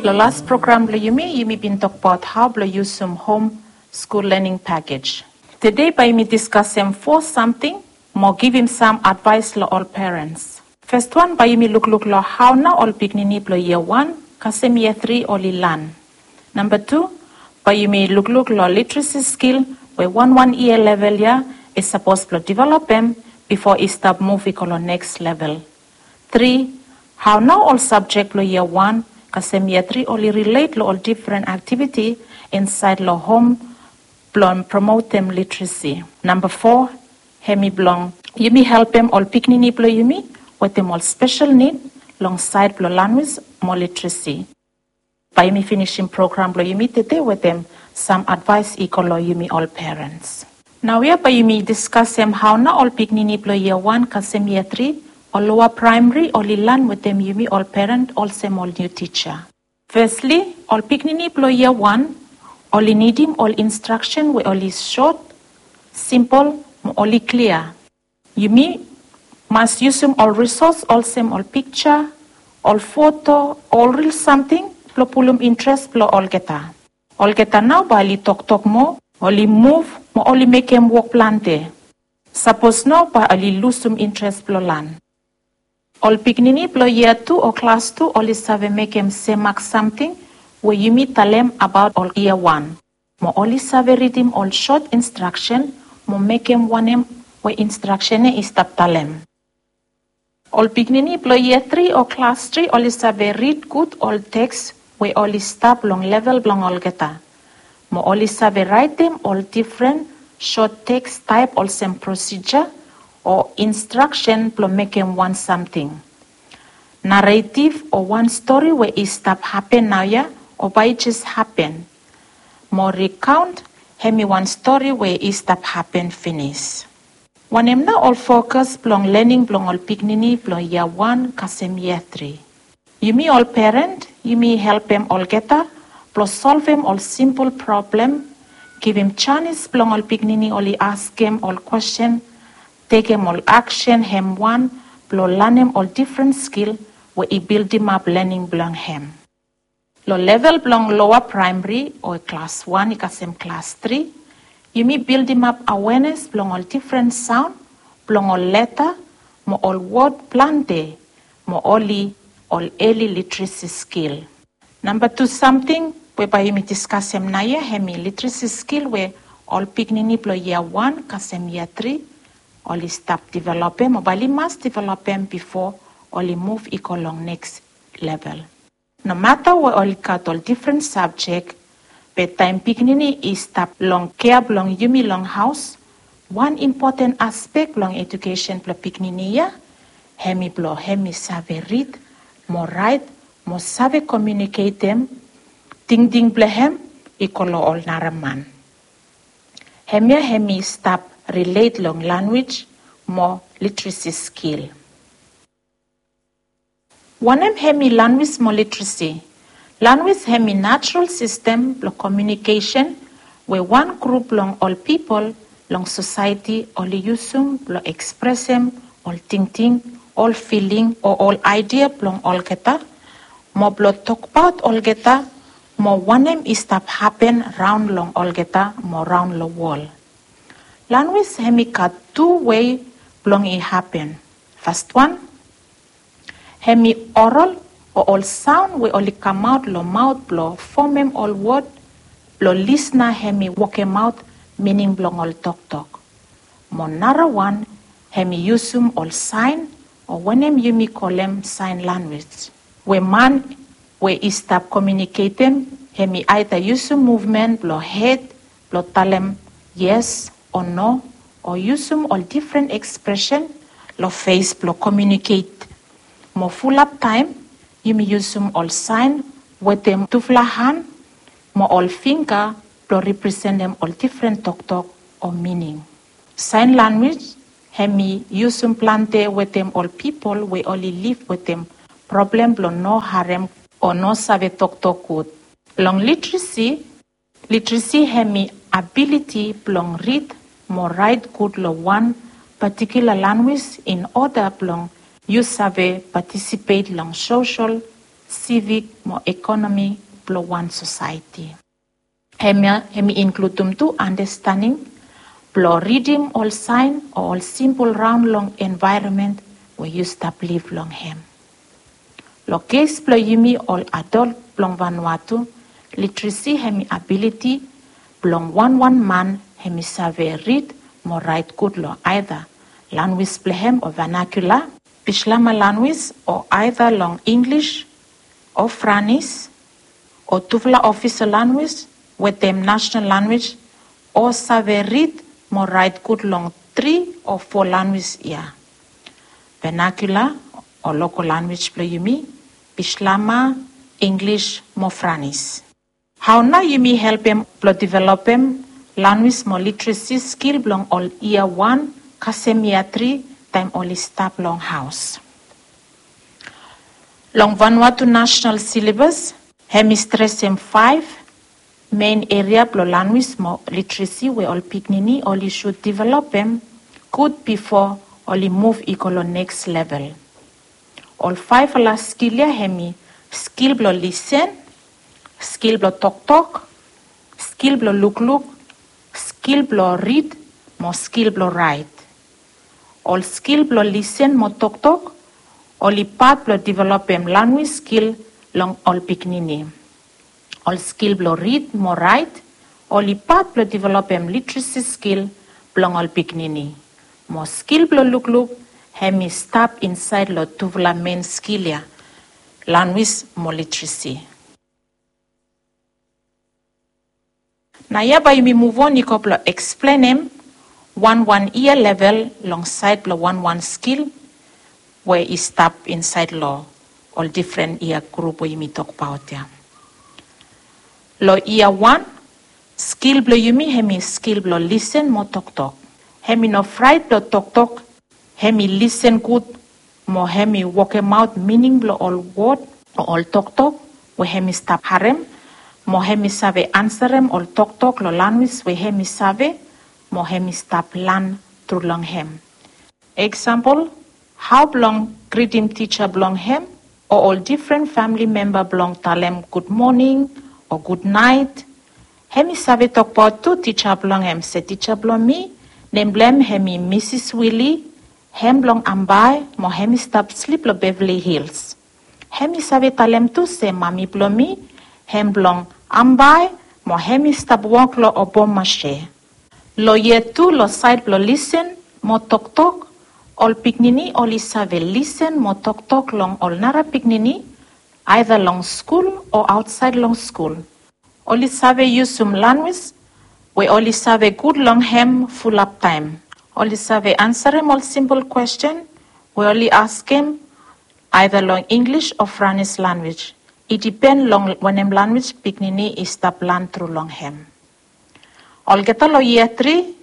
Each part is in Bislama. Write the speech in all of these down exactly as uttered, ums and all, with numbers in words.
Long las program blong yumi, yumi bin tokbaot hao blong yusum hom skul lening pakej. Tede bae yumi diskasem fo samting mo givim sam advaes long ol perens. Fes wan bae yumi lukluk long hao nao ol pikinini blong yia wan kasem yia tri oli lan. Namba tu, bae yumi lukluk long literesi skil we wanwan yia level ya i sapos blong developem bifo i stap muv i go long neks level. Tri, hao nao ol sabjek blong yia wan kasem yia tri oli rilet long ol difren aktiviti insaed long hom blong promotem literesi. Namba fo, hemi blong yumi helpem ol pikinini blong yumi wetem ol spesel nid long saed blong lanwis mo literesi. Bae yumi finisim program blong yumi tede wetem sam advaes i go long yumi ol perens. Naoia bae yumi diskasem hao nao ol pikinini blong yia wan kasem yia tri o loa praemari oli lan wetem yumi ol peren olsem ol niu tija. Fesli, ol pikinini blong yia wan oli nidim ol instraksen we oli sot, simpol mo oli klia. Yumi mas yusum ol risos olsem ol pikja, ol foto, ol ril samting blong pulum intres blong olgeta. Olgeta nao bae oli toktok moa, oli muv mo oli mekem wok plante. Sapos no bae oli lusum intres blong lan. Ol pikinini blong yia tu o klas tu oli save mekem semak samting we yumi talem abaot ol yia wan. Mo oli save ridim ol sot instraksen mo mekem wanem we instraksen ya i stap talem. Ol pikinini blong yia tri o klas tri oli save rid gud ol teks we oli stap long level blong olgeta. Mo oli save raetem ol difren sot teks taep olsem prosija o instraksen blong mekem wan samting. Naretiv o wan stori we i stap hapen naoia o bae i jes hapen. Mo rikaon hemi wan stori we i stap hapen finis. Wanem nao ol fokas blong lening blong ol pikinini blong yia wan kasem yia tri? Yumi ol peren yumi helpem olgeta blong solvem ol simpol problem, givim janis blong ol pikinini oli askem ol kwesten, tekem ol aksen hem wan blong lanem ol difren skil we i bildimap lening blong hem. Long level blong loa praemari o klas wan i kasem klas tri, yumi bildimap awenes blong ol difren saon blong ol leta mo ol wod plante mo oli ol eli literesi skil. Namba tu samting we bae yumi diskasem naoia hemi literesi skil we ol pikinini blong yia wan kasem yia tri oli stap developem o bae oli mas developem bifo oli muv i go long neks level. Nomata we oli gat ol difren sabjek, be taem pikinini i stap long kea blong yumi long haos, wan impoten aspek blong ejukesen blong pikinini ya hemi blong hemi save rid mo raet mo save komiuniketem tingting blong hem i go long ol nara man. Hemia hemi stap rilet long lanwis mo literesi skil. Wanem hemi lanwis mo literesi? Lanwis hemi najarol sistem blong komiunikesen we wan grup blong ol pipol long sosaeti oli yusum blong ekspresem ol tingting, ol filing o ol aedia blong olgeta mo blong tokbaot olgeta mo wanem i stap hapen raon long olgeta mo raon long wol. Lanwis hemi gat tu wei blong i hapen. Fas wan, hemi orol o ol saon we oli kamaot long maot blong fomem ol wod blong lisna hemi wokemaot mining blong ol toktok. Mo narawan hemi yusum ol saen o wanem yumi kolem saen lanwis we man we i stap komiuniketem hemi aeda yusum muvmen blong hed blong talem yes o no o yusum ol difren ekspresen long fes blong komiuniket. Mo fulap taem yumi yusum ol saen wetem tufala han mo ol fingga blong representem ol difren toktok o mining. Saen lanwis hemi yusum plante wetem ol pipol we oli liv wetem problem blong no harem o no save toktok gud. Long literesi, literesi hemi abiliti blong rid mo raet gud long wan patikula lanwis in oda blong yu save patisipet long sosol sivik mo ekonomi blong wan sosaeti. Hemia hemi inkludum tu andastaning blong ridim ol saen o ol simpol raon long envaeronmen we yu stap liv long hem. Long kes blong yumi ol adol blong Vanuatu, literesi hemi abiliti blong wanwan man hemi save rid mo raet gud long aeda lanwis blong hem o vanakula, Bislama lanwis o aeda long Inglis o Franis o tufala ofisa lanwis wetem nasonal lanwis o save rid mo raet gud long tri o fo lanwis ya. Vanakula o lokol lanwis blong yumi, Bislama, Inglis mo Franis. Hao nao yumi helpem blong developem lanwis mo literesi skil blong ol yia wan kasem yia tri taem oli stap long haos? Long Vanuatu nasonal silabas hemi stresem faef men eria blong lanwis mo literesi we ol pikinini oli sud developem gud bifo oli muv i go long neks level. Ol faefala skil ya hemi skil blong lisen, skil blong toktok, skil blong lukluk, skil blong rid mo skil blong raet. Ol skil blong lisen mo toktok oli pat blong developem lanwis skil long ol pikinini. Ol skil blong rid mo raet oli pat blong developem literesi skil blong ol pikinini. Mo skil blong lukluk hemi stap insaed long tufala men skil ya, lanwis mo literesi. Naoia bae yumi muvon i go blong eksplenem wanwan yia level long saed blong wanwan skil we i stap insaed long ol difren yia grup we yumi tokbaot ya. Long yia wan, skil blong yumi hemi skil blong lisen mo toktok. Hemi no fraet blong toktok, hemi lisen gud mo hemi wokemaot mining blong ol wod o ol toktok we hemi stap harem, mo hemi save ansarem ol toktok long lanwis we hemi save mo hemi stap lan tru long hem. Eksampol, hao blong gritim tija blong hem o ol difren famle memba blong talem gud moning o gud naet. Hemi save tokbaot tu tija blong hem se, "Tija blong mi, nem blong hem hemi Misis Wili, hem blong Ambae mo hemi stap slip long Beverly Hills." Hemi save talem tu se, "Mami blong mi, hem blong Ambae mo hemi stap wok long Obomasie." Long yia tu, long saed blong lisen mo toktok, ol pikinini oli save lisen mo toktok long ol nara pikinini aeda long skul o aotsaed long skul. Oli save yusum lanwis we oli save gud long hem fulap taem. Oli save ansarem ol simpol kwesten we oli askem aeda long Inglis o Franis lanwis. I dipen long wanem lanwis pikinini i stap lan tru long hem. Olgeta long yia tri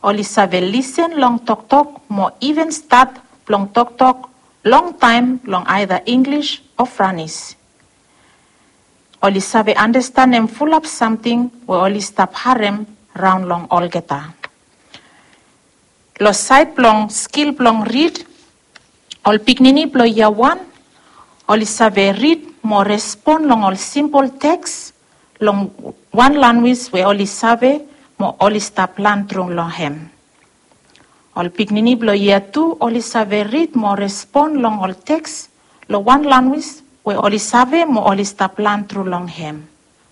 oli save lisen long toktok mo iven stat blong toktok longtaem long aeda Inglis o Franis. Oli save andastanem fulap samting we oli stap harem raon long olgeta. Long saed blong skil blong rid, ol pikinini blong yia wan oli save rid mo respon long ol simpol teks long wan lanwis we oli save mo oli stap lan tru long hem. Ol pikinini blong yia tu oli save rid mo respon long ol teks long wan lanwis we oli save mo oli stap lan tru long hem.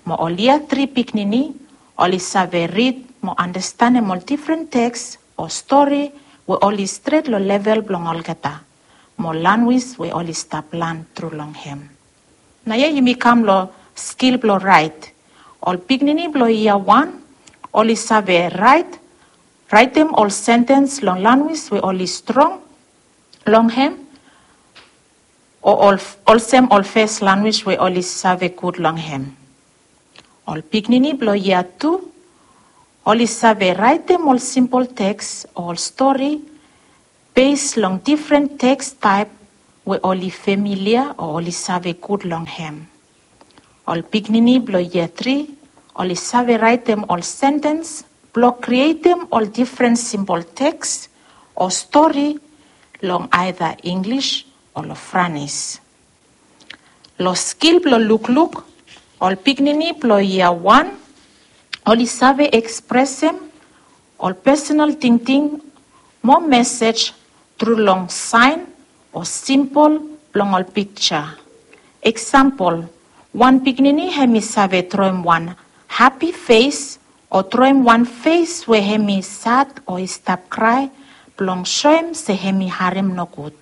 Mo ol yia tri pikinini oli save rid mo andastanem ol difren teks o stori we oli stret long level blong olgeta mo lanwis we oli stap lan tru long hem. Naoia yumi kam long skil blong raet. Ol pikinini blong yia wan oli save raet, raetem ol sentens long lanwis we oli strong long hem, o ol, olsem ol fes lanwis we oli save gud long hem. Ol pikinini blong yia tu oli save raetem ol simpol teks o ol stori bes long difren teks taep we oli familia o oli save gud long hem. Ol pikinini blong yia tri oli save raetem ol sentens blong krietem ol difren simpol teks o stori long aeda Inglis o long Franis. Long skil blong lukluk, ol pikinini blong yia wan oli save ekspresem ol pesonal tingting mo mesej tru long saen o simpol blong ol piksa. Eksampol, wan pikinini hemi save droem wan hapi fes o droem wan fes we hemi sad o i stap krae blong soem se hemi harem nogud.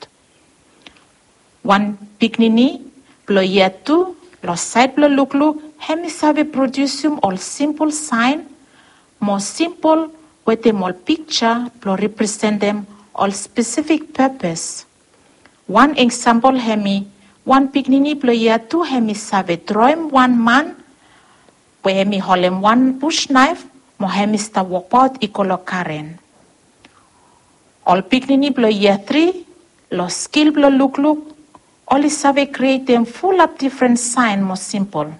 Wan pikinini blong yia tu long saed blong lukluk hemi save prodiusim ol simpol saen mo simpol wetem ol piksa blong representem ol spesifik pepes. Wan eksampol hemi wan pikinini blong yia tu hemi save droem wan man we hemi holem wan bus naef mo hemi stap wokbaot i go long garen. Ol pikinini blong yia tri long skil blong lukluk oli save krietem fulap difren saen mo simpol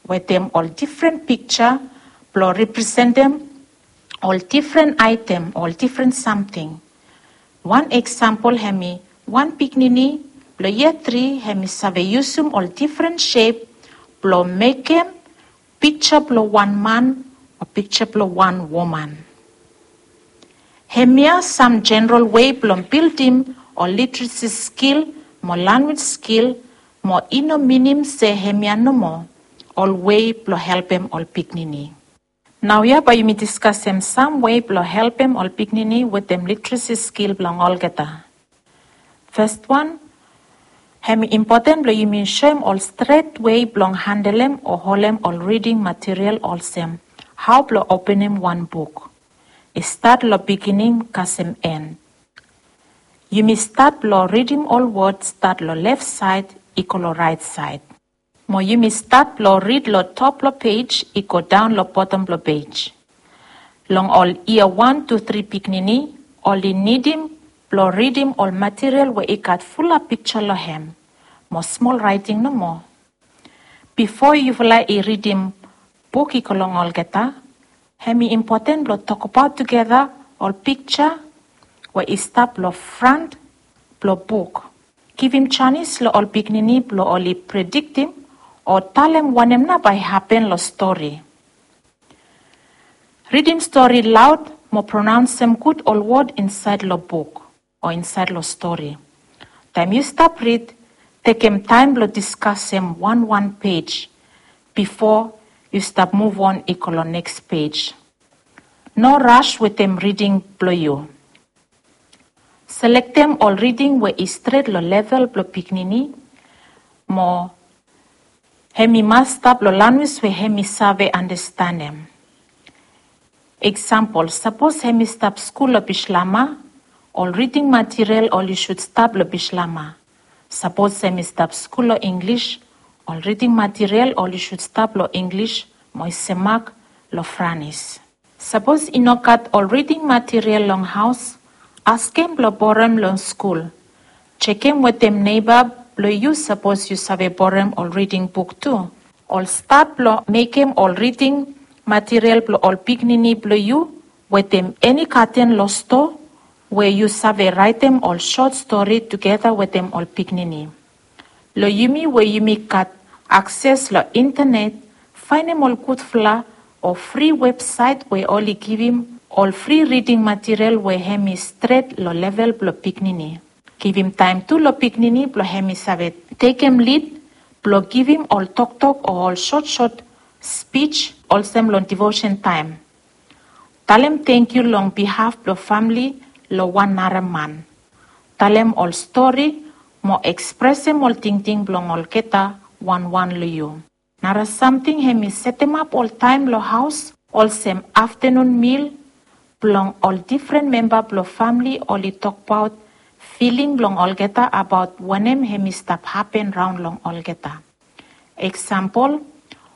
wetem ol difren piksa blong representem ol difren aetem, ol difren samting. Wan eksampol hemi wan pikinini blong yia tri hemi save yusum ol difren sep blong mekem piksa blong wan man o piksa blong wan woman. Hemia sam jeneral wei blong bildim ol literesi skil mo lanwis skil mo i no minim se hemia nomo ol wei blong helpem ol pikinini. Naoia bae yumi diskasem sam wei blong helpem ol pikinini wetem literesi skil blong olgeta. Fes wan, hemi impoten blong yumi soem ol stret wei blong handelem o holem ol riding material olsem hao blong openem wan buk. I stat long bigining kasem en. Yumi stat blong ridim ol wod stat long lef saed i go long raet saed. Mo yumi stat blong rid long top blong pej i go daon long bottom blong pej. Long ol yia wan tu tri pikinini oli nidim blong ridim ol material we i gat fulap piksa long hem mo smol raeting nomo. Bifo yufala i ridim buk i go long olgeta, hemi impoten blong tokbaot tugeta ol piksa we i stap long fran blong buk. Givim janis long ol pikinini blong oli prediktim o talem wanem nao bae hapen long stori. Ridim stori laod mo pronaonsem gud ol wod insaed long buk o insaed long stori. Taem yu stap rid, tekem taem blong diskasem wanwan pej bifo yu stap muvon i go long neks pej. No ras wetem riding blong yu. Selektem ol riding we i stret long level blong pikinini mo hemi mas stap long lanwis we hemi save andastanem. Eksampol, sapos hemi stap skul long Bislama, ol riding material oli sud stap long Bislama. Sapos hemi stap skul long Inglis, ol riding material oli sud stap long Inglis mo i semak long Franis. Sapos i no gat ol riding material long haos, askem blong borem long skul. Jekem wetem neiba blong yu sapos yu save borem ol riding buk tu. Ol stat blong mekem ol riding material blong ol pikinini blong yu wetem eni gaden long stoa we yu save raetem ol sot stori tugeta wetem ol pikinini. Long yumi we yumi gat akses long intenet, faenem ol gudfala o fri websaet we oli givim ol fri riding material we hemi stret long level blong pikinini. Givim taem tu long pikinini blong hemi save tekem lid blong givim ol toktok o ol sotsot spij olsem long divosen taem. Talem tangkiu long bihaf blong famle long wan nara man. Talem ol stori mo ekspresem ol tingting blong olgeta wanwan long yu. Nara samting hemi setemap ol taem long haos olsem aftenun mil blong ol difren memba blong famle oli tokbaot filing blong olgeta abaot wanem hemi stap hapen raon long olgeta. Eksampol,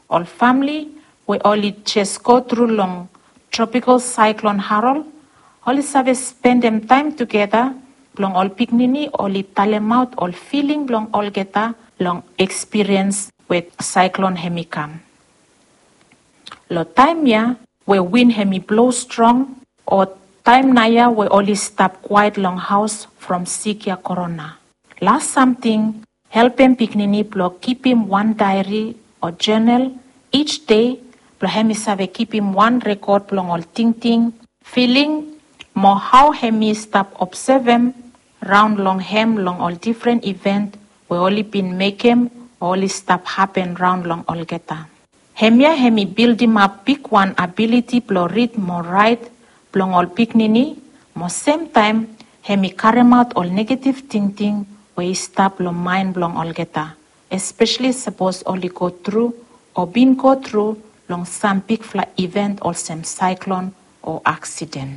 ol famle we oli jes go tru long tropikal saeklon Harold oli save spendem taem tugeta blong ol pikinini oli talemaot ol filing blong olgeta long ekspiriens we saeklon hemi kam. Long taem ya we win hemi blo strong o taem naoia we oli stap kwaet long haos from sik ya korona. Las samting Helpem pikinini blong kipim wan daeri o jonal ij dei blong hem i save kipim wan rekod blong ol tingting, filing, mo hao hem i stap obsevem raon long hem long ol difren iven we oli bin mekem o oli stap hapen raon long olgeta. Hemia hem i bildimap bigwan abiliti blong rid mo raet blong ol pikinini, mo semtaem hem i karemaot ol negetiv tingting we i stap long maen blong olgeta, espeseli sapos oli go tru o bin go tru long sam bigfala iven olsem saeklon o aksiden.